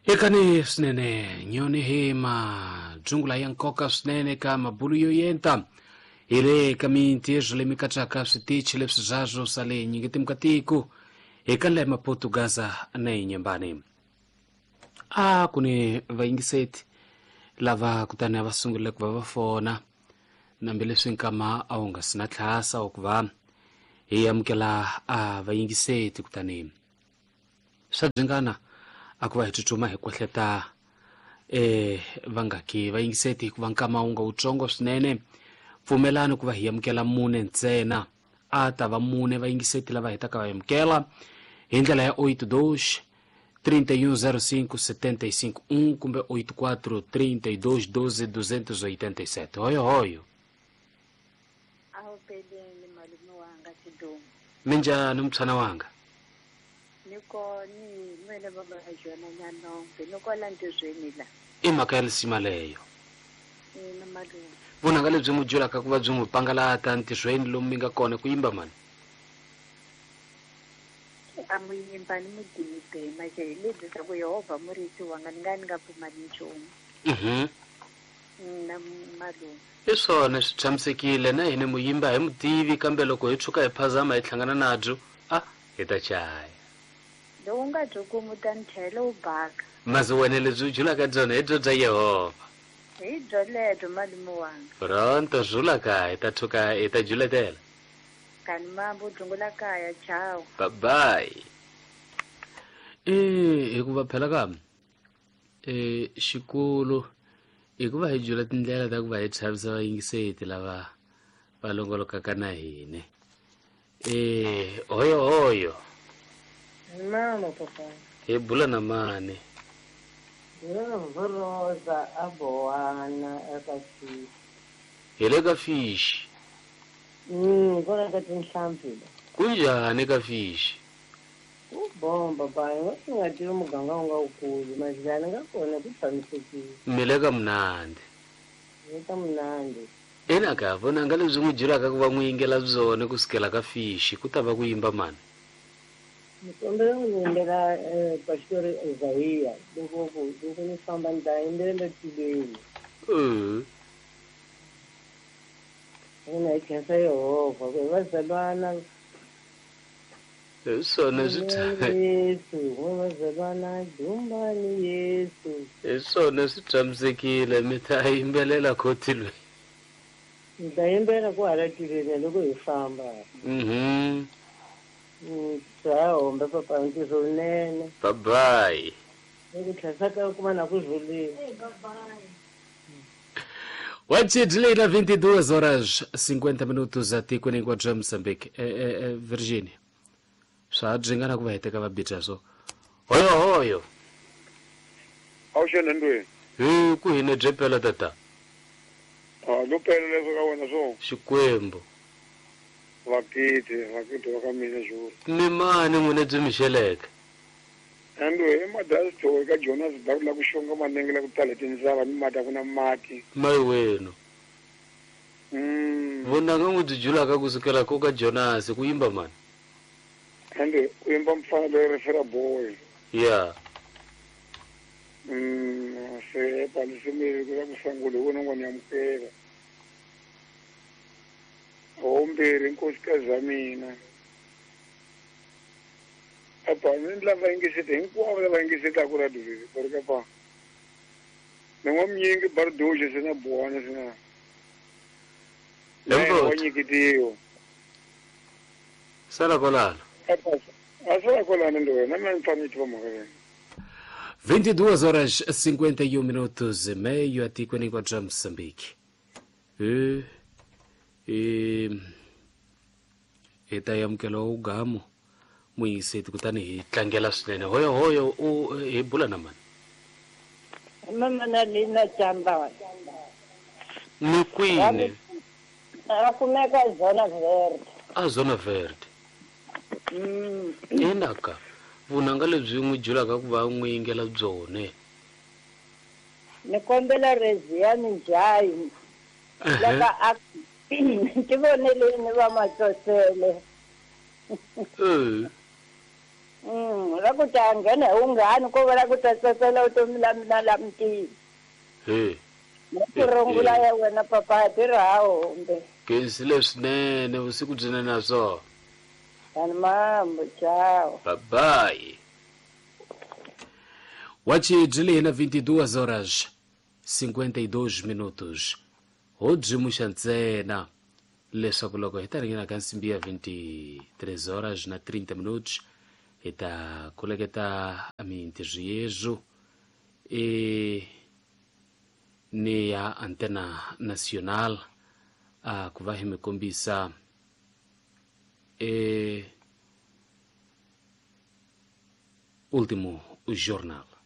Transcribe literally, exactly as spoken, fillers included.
Ekani swinene nyoni hi majungula ya nkoka swinene ka mabulu yo yenta hi le ka mintirho leyi mi katsaka switichi leswi zwazwo swa le nyingeti mukatiko eka le Maputo Gaza na Inhambane. A ku ni vayingiseti lava kutani a va sungule ku va va fona nambileswi nkama a wu nga si na tlhasa wa ku va hi amukela a vayingiseti kutani swa byingana a ku va hi tsutsuma hi kwehleta eh vangaki vayingiseti hikuva nkama wu nga wutsongo swinene. Pfumelani ku va hi amukela mune ntsena, a ta va mune vayingiseti lava hetaka va amukela hi ndlela ya oito dois trinta e um zero cinco setenta e cinco um kumbe oito quatro trinta e dois doze duzentos e oitenta e sete. Hoyo hoyo. Awu peleni malume wanga Sidumo. Minjhani mtshana wanga? Niko ni nwele baba Jona Nyanombe niko la ntirhweni la. I mhaka ya lisima leyo. Ina malume. Vunanga lebyi n'wi byelaka ku va byi n'wi pangalata ntirhweni lomu mi nga kona ku yimba mani? A mu yimba ni mudinibe manje hi lebyi swa ku Yehovha murisi wanga ni nga ni nga pfumali nchumu. Mhm. Na malume. I swona swi tshamisekile na hina mu yimba hi mutivi kambe loko hi tshuka hi phazama hi hlangana nabyo a hi ta chaya. Lowu nga byi kumi u ta ni tlhela u baka. Masi wena lebyi u byulaka byona hi byo bya Yehovha. Hi byo lebyo malume wanga. Pronto zula kaya hi ta tshuka hi ta juletela. Kani mambo dzungula kaya chao. Bye bye. Eh hikuva phela ka eh xikolo hikuva hi jula tindlela ta ku va hi chavisa vayingiseti lava va longolokaka na hina. Eh hoyo hoyo. Mama papa. Hi bula na mani. Rosa aboana eka fish. Hi le ka fish. Mm, kona ka tinhlampfi. Kunjhani ka fish? Ku bomba ba, nga nga tivi muganga wu nga wukulu, majilani nga kona ku tshamisekile. Mi le ka mnandzi. Le ka mnandzi. Ina ka vona nga lebyi n'wi byelaka ku va n'wi yingela byona kusukela ka fish ku ta va ku yimba mani? Ni kombela n'wi yimbela pastor Isaiah loko ku loko ni famba ni ta yimbelela tilweni. Eh. Ina hi khensa Yehovha ku hi vazalwana. Hi swona swi Yesu, hi vazalwana dumbani Yesu. Hi swona swi tshamisekile mi ta yimbelela khotilweni. Ni ta yimbelela ku hala tilweni loko hi famba. Mhm. Ciao, papa ntirho wunene. Bye bye. Ku tlhela ka kuma na ku rhulile. Bye bye. Wachidlila vinte e duas horas cinquenta minutos atikweni hinkwabyo Mozambique. Eh eh Virginia. Swa byingana ku va heteka va bitsa so. Hoyo hoyo. Awuxena ndweni. Hi ku hina bye pela tata. Ah, lo pela leswo ka wena so. Xikwembu. Vakiti, vakiti wa ka mina xuru. Ni mani n'wina byi mi xeleke? Ando i madasito eka Jonas Daku la ku xonga manenge la ku tala tindzava ni mati a ku na mati. Mayi wenu. Mm. Vonanga n'wi byi julaka kusukela ko ka Jonas ku yimba mani? Ando ku yimba mfana loyi refera boy. Yeah. Mm, se palisimile ku la ku sangule wona n'wana ya mukela. Ombirhi nkosikazi ya mina. Apa ni lava yingiseti hinkwavo lava yingisetaka radio leyi ku ri ka pa. Ni n'wa mnyingi bardoje sina buwana sina. Wa nyikitiwa. Sala kolano. Apa a sala kolano ndo wena mina ni fanele tiva mhaka leyi. vinte e duas horas cinquenta e um minutos e meio atikweni hinkwabyo Mozambique. Eh e hi ta amukela ugamo muyingiseti kutani hi tlangela swinene. Hoyo hoyo u hi bula na mani? Mama na Lina Chamba. Ni kwini? A kumeka Zona Verde. A Zona Verde. Mm. Inaka vunanga lebyi n'wi byelaka ku va n'wi yingela byone. Ni kombela Reziani Njayi. Laka a ti voneleni va matsotsele. Eh. Mm, ra ku ta nghena hi wunghani ko va la ku ta tsakela vutomi la mina la mutini. He. Ku rungula ya wena papa tirha ha hombe. Kensile swinene vusiku byinene na swona. Ani mambo, tchau. Bye bye. Wachi byi na vinte e duas horas cinquenta e dois minutos. Ho byi ntsena leswaku loko hi ta ringena ka nsimbi ya vinte e três horas na trinta minutos hi ta koleketa mintirho yezu e ni ya Antena Nacional a ku va hi mi kombisa e último jornal.